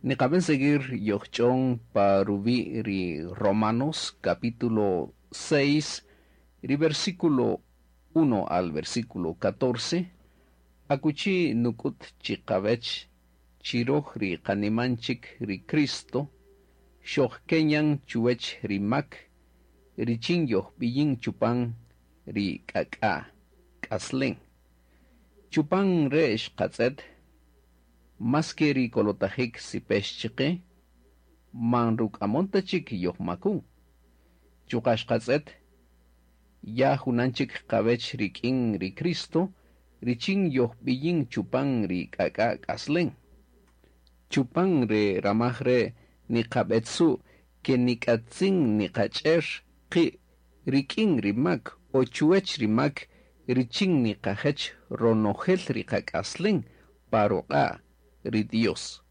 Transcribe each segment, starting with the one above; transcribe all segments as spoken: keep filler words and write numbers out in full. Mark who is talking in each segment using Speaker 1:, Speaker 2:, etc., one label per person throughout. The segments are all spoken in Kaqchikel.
Speaker 1: Niqab'en seguir yojch'on pa ruwi' ri Romanos capítulo seis, ri versículo uno al versículo catorce, akuchi nuk'ut chiqawech chiroj ri qaniman chik ri Cristo, xojkenyan chuwech ri mak, richin yojb'iyin chupan ri k'ak'a k'aslen. Chupan re xqatz'et, maske ri kolotajik sipex chiqe, man ruk'amon ta chik yojmakun. Chuqa' xqatz'et, ya junan chik qawech rik'in ri Cristo, richin yojb'iyin chupan ri k'ak'a k'aslen. Chupan re ramaj re niqab'etzu' ke nik'atzin niqach'er qi' rik'in ri mak o chuwech ri mak richin niqajech ronojel ri qak'aslen pa ruq'a' ri Dios.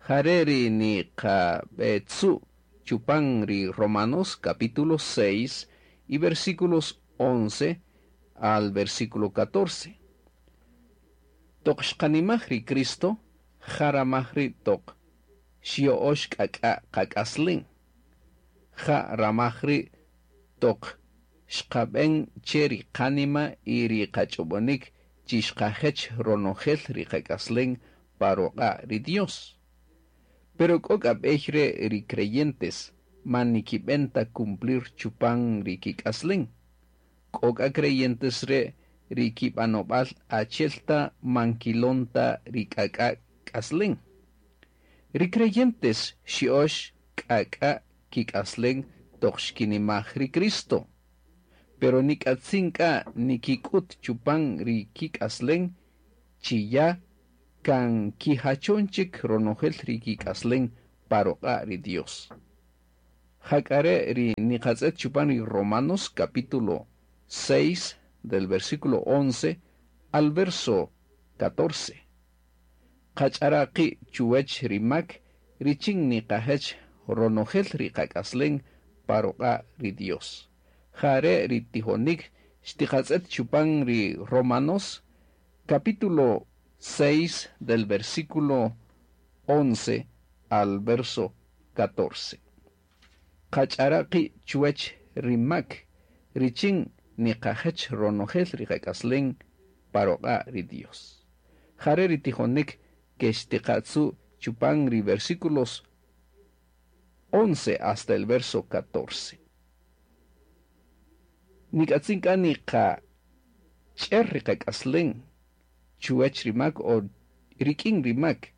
Speaker 1: Jare ri niqab'etzu' chupan ri Romanos capítulo seis y versículos once al versículo catorce. Toq xqanimaj ri Cristo, jaramaj ri toq xyo'ox k'ak'a qak'aslen. Ja ramaj ri toq xqab'en che ri qanima y ri qach'ob'onik chi xqajech ronojel ri qak'aslen pa ruq'a' ri Dios. Pero k'o k'a b'ey re ri creyentes man nikib'en ta cumplir chupan ri kik'aslen. K'o k'a creyentes re ri kib'anob'al achel ta man kilon ta ri k'ak'a k'aslen. Ri creyentes xyo'ox k'ak'a kik'aslen toq xkinimaj ri Cristo. Pero nik'atzin k'a nikik'ut chupan ri kik'aslen chi ya kan kijachon chik ronojel ri kik'aslen pa ruq'a' ri Dios. Jak'are ri niqatz'et chupan ri Romanos capítulo seis del versículo once al verso catorce. Qach'ara qi' chuwech ri mak richin niqajech ronojel ri qak'aslen pa ruq'a' ri Dios. Jare ri tijonik xtiqatz'et chupan ri Romanos capítulo seis del versículo once al verso catorce. Qach'ara qi' chuwech ri mak richin niqajech ronojel ri qak'aslen pa ruq'a' ri Dios. Jare ri tijonik ke xtiqatzu chupan ri versículos once hasta el verso catorce. Nik'atzin k'a niqach'er ri qak'aslen chuwech ri mak o rik'in ri mak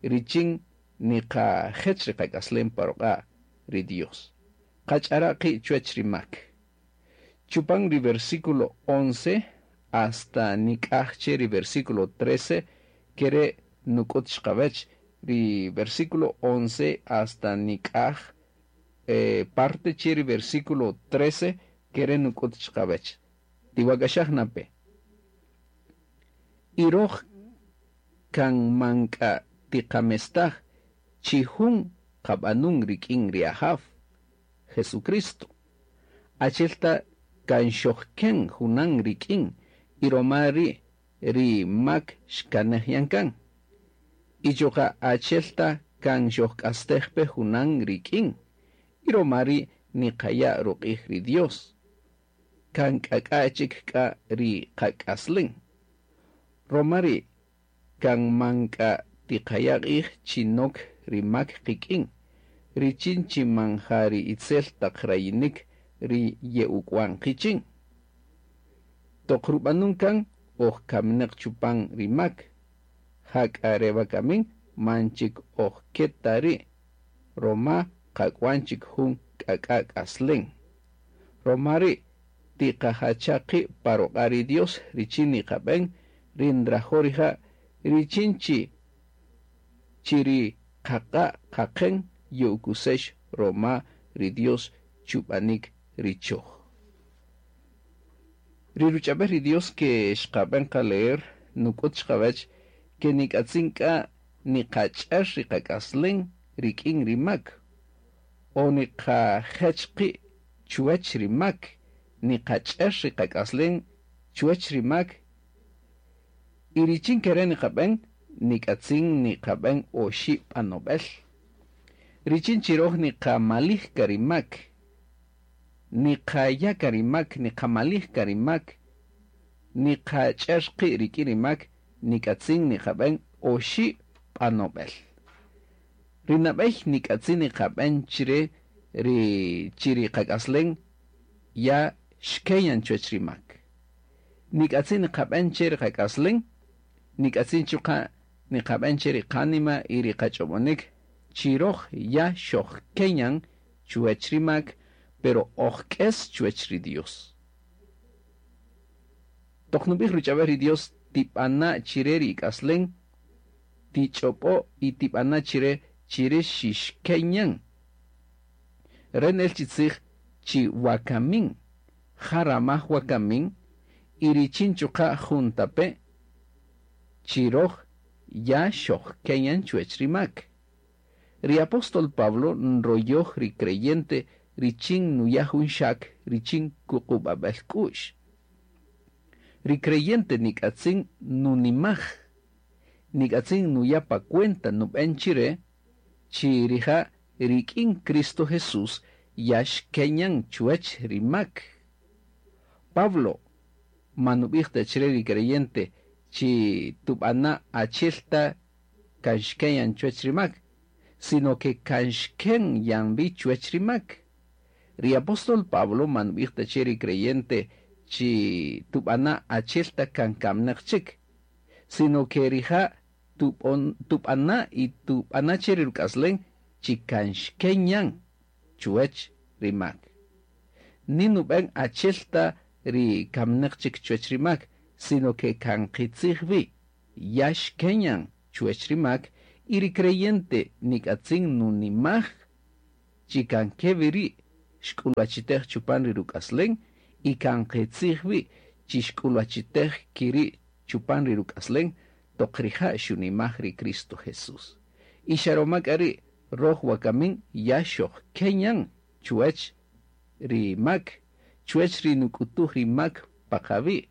Speaker 1: richin niqajech ri qak'aslen pa ruq'a' ri Dios. Qach'ara qi' chuwech ri mak. Chupan ri versículo once hasta nik'aj che ri versículo trece kere nuk'ut xqawech ri versículo once hasta nik'aj, eh, parte che ri versículo trece kere nuk'ut xqawech. Tiwak'axaj nape. Iroj kan manka tiqamestaj chijun qab'anun rik'in ri Ajaw Jesucristo. Achelta kan xojken junan rik'in iroma ri ri mak xkanej yankan. Ichoqa achelta kan xojk'astejpe junan rik'in iroma ri niqaya' ruq'ij ri Dios. Kan k'ak'achik k'a ri qak'aslen. Romari kan manka tiqaya' q'ij chinok ri mak qik'in, richin chi manja ri itzel taq rayinik ri ye'uk'wan qichin. Toq rub'anun kan oj kamineq chupan ri mak, jak'a re wakamin man chik oj keta ri', roma qak'wan chik jun k'ak'a k'aslen. Romari tiqajacha qi' pa ruq'a' ri Dios richin niqab'en ri nrajo' rija' richin chi chi ri qaqa' qaqen ye'ukusex roma ri Dios chub'anik ri choj. Ri ruch'ab'ej ri Dios ke xqab'en qaleer nuk'ut xqawech ke nik'atzin k'a niqach'er ri qak'aslen rik'in ri mak o niqajech qi' chuwech ri mak, niqach'er ri qak'aslen chuwech ri mak y richin kere niqab'en nik'atzin niqab'en oxi' b'anob'el. Richin chi roj niqamalij ka ri mak, niqaya' ka ri mak, niqamalij ka ri mak, niqach'er qi' rik'in ri mak, nik'atzin niqab'en oxi' b'anob'el. Ri nab'ey nik'atzin niqab'en chire ri chi ri qak'aslen ya xkeyan chuwech ri mak. Nik'atzin niqab'en che ri qak'aslen, nik'atzin chuqa' niqab'en che ri qánima y ri qach'ob'onik chi roj ya xojkeyan chuwech ri mak, pero ojk'es chuwech ri Dios. Toq nub'ij ruch'ab'el ri Dios tib'ana' chire ri ik'aslen, tich'ob'o y tib'ana' chire chire xixkeyan. Re nel chi tzij chi wakamin, jaramaj wakamin, y richin chuqa' juntape' chi roj ya xojkeyan chuwech ri mak. Ri apóstol Pablo nroyoj ri creyente richin nuya' jun xak richin kuqub'ab'el k'u'x. Ri creyente nik'atzin nunimaj, nik'atzin nuya' pa cuenta nub'en chire chi rija' rik'in Cristo Jesús ya xkeyan chuwech ri mak. Pablo manub'ij ta chire ri creyente chi tub'ana' achiel ta kan xkeyan chuwech ri mak, sino que kan xken yan vi chuwech ri mak. Ri apóstol Pablo manub'ij ta che ri creyente chi tub'ana' achiel ta kan kamnaq chik, sino que rija' tub'on tub'ana' y tub'ana' che ri ruk'aslen chi kan xken yan chuwech ri mak. Ni nub'en achiel ta ri kamnaq chik chuwech ri mak, sino que kan qitzij wi ya xken yan chuwech ri mak y ri creyente nik'atzin nunimaj chi kan kewi ri' xk'ulwachitej chupan ri ruk'aslen y kan qitzij wi chi xk'ulwachitej kiri' chupan ri ruk'aslen toq rija' xunimaj ri Cristo Jesús. Y xaroma k'a ri' roj wakamin ya xojkeyan chuwech ri mak, chuwech ri nuk'utuj ri mak pa qawi',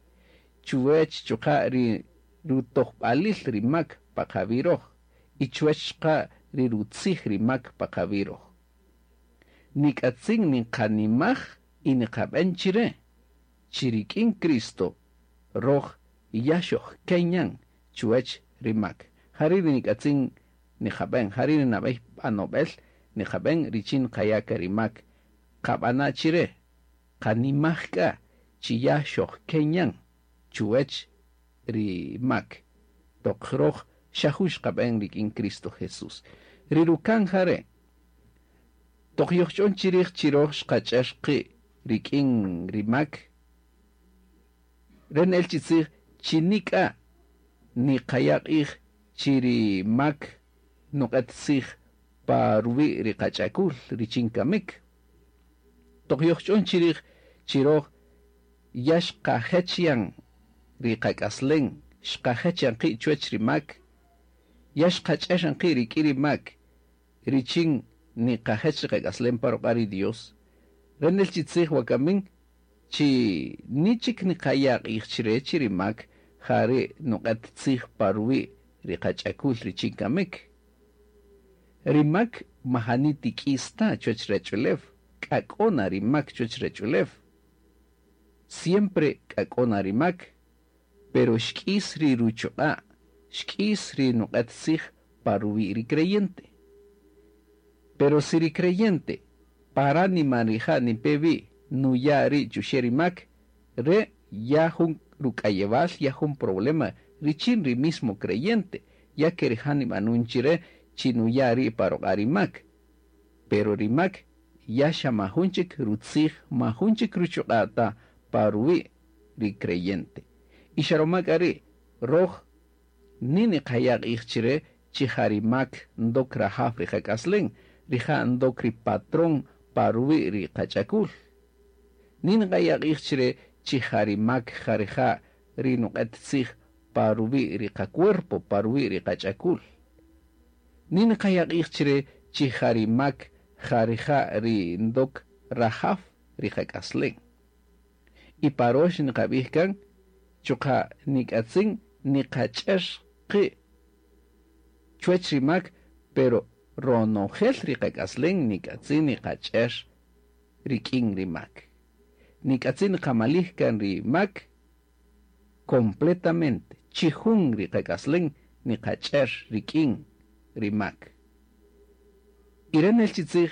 Speaker 1: chuwech chuqa' ri rutojb'alil ri mak pa qawi' roj y chuwech chuqa' ri rutzij ri mak pa qawi' roj. Nik'atzin niqanimaj y niqab'en chire chi rik'in Cristo roj ya xojkeyan chuwech ri mak. Jari' ri nik'atzin niqab'en, jari' ri nab'ey b'anob'el niqab'en richin qaya' ka ri mak qab'ana' chire qanimaj k'a chi ya xojkeyan chuwech ri mak. Toq roj xa jun xqab'en rik'in Cristo Jesús. Ri rukan jare' toq yojch'on chirij chi roj xqach'er qi' rik'in ri mak, re nel chi tzij chi nik'a niqaya' q'ij chi ri mak nuq'et tzij pa ruwi' ri qach'akul richin kamik. Toq yojch'on chirij chi roj ya xqajech yan ri qak'aslen, xqajech yan qi' chuwech ri mak, ya xqach'er yan qi' rik'in ri mak richin niqajech ri qak'aslen pa ruq'a' ri Dios. Re nel chi tzij wakamin chi ni chik niqaya' q'ij chire chi ri mak jari' nuq'et tzij pa ruwi' ri qach'akul richin kamik. Ri mak majani tik'is ta chuwech ruwach'ulew, k'a k'o na ri mak chuwech ruwach'ulew. Siempre k'a k'o na ri mak, pero xk'is ri ruchuq'a', xk'is ri nuq'et tzij pa ruwi' ri creyente. Pero si ri creyente paránima rija' nipe wi nuya' ri' chuxe' ri mak, re ya jun ruk'ayewal, ya jun problema richin ri mismo creyente, ya que rija' nib'anun chire chi nuya' ri' pa ruq'a' ri mak. Pero ri mak ya xa majun chik rutzij, majun chik ruchuq'a' ta pa ruwi' ri creyente. Y xa roma k'a ri' roj ni niqaya' q'ij chire chi ja ri mak ndok rajaw ri qak'aslen, rija' ndok ri patrón pa ruwi' ri qach'akul. Ni niqaya' q'ij chire chi ja ri mak ja rija' ri nuq'et tzij pa ruwi' ri qacuerpo, pa ruwi' ri qach'akul. Ni niqaya' q'ij chire chi ja ri mak ja rija' ri ndok rajaw ri qak'aslen. Y parox niqab'ij kan chuqa' nik'atzin niqach'er qi' Chuwech ri mak, pero ronojel ri qak'aslen nik'atzin niqach'er rik'in ri mak. Nik'atzin niqamalij kan ri mak completamente, chijun ri qak'aslen niqach'er rik'in ri mak. Y re' nel chi tzij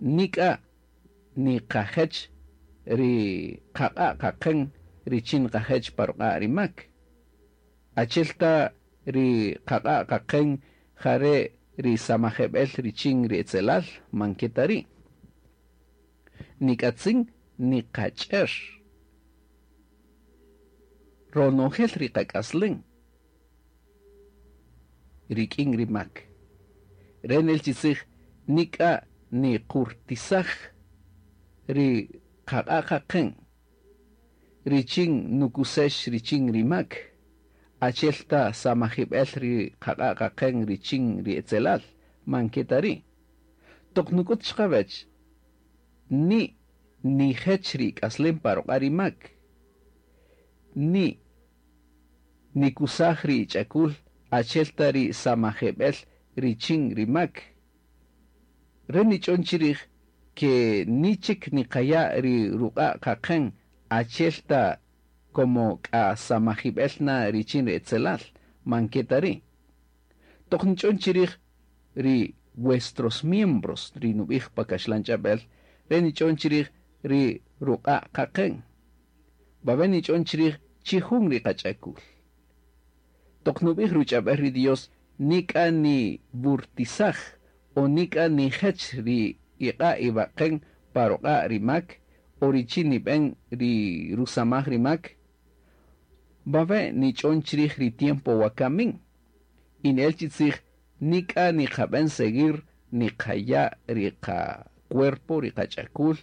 Speaker 1: nik'a niqajech ri qaq'a' qaqen richin niqajech pa ruq'a' ri mak. Achi'el ta ri qaq'a' qaqen jare' ri samajeb'el richin ri etzelal man ke ta ri'. Nik'atzin niqach'er ronojel ri qak'aslen rik'in ri mak. Re' nel chi tzij nik'a niqurtisaj ri qaq'a' qaqen richin nukusex richin ri mak, achi'el ta samajib'el ri qaq'a' qaqen richin ri etzelal man ke ta ri'. Toq nuk'ut chiqawech ni nijech ri k'aslem pa ruq'a' ri mak, ni nikusaj ri ch'akul achi'el ta ri samajeb'el richin ri mak. Re' nich'on chirij ke ni chik niqaya' ri ruq'a' qaqen achi'el ta como k'a samajib'el na richin ri etzelal man ke ta ri'. Toq nich'on chirij ri vuestros miembros ri nub'ij pa kaxlan ch'ab'el, re' nich'on chirij ri ruq'a' qaqen. Wawe' nich'on chirij chijun ri qach'akul. Toq nub'ij ruch'ab'el ri Dios nik'a niwurtisaj o nik'a nijech ri iq'a' iwaqen pa ruq'a' ri mak o richin nib'en ri rusamaj ri mak. Wawe' nich'on chirij ri tiempo wakamin. Y nel chi tzij nik'a niqab'en seguir niqaya' ri qacuerpo ri qach'akul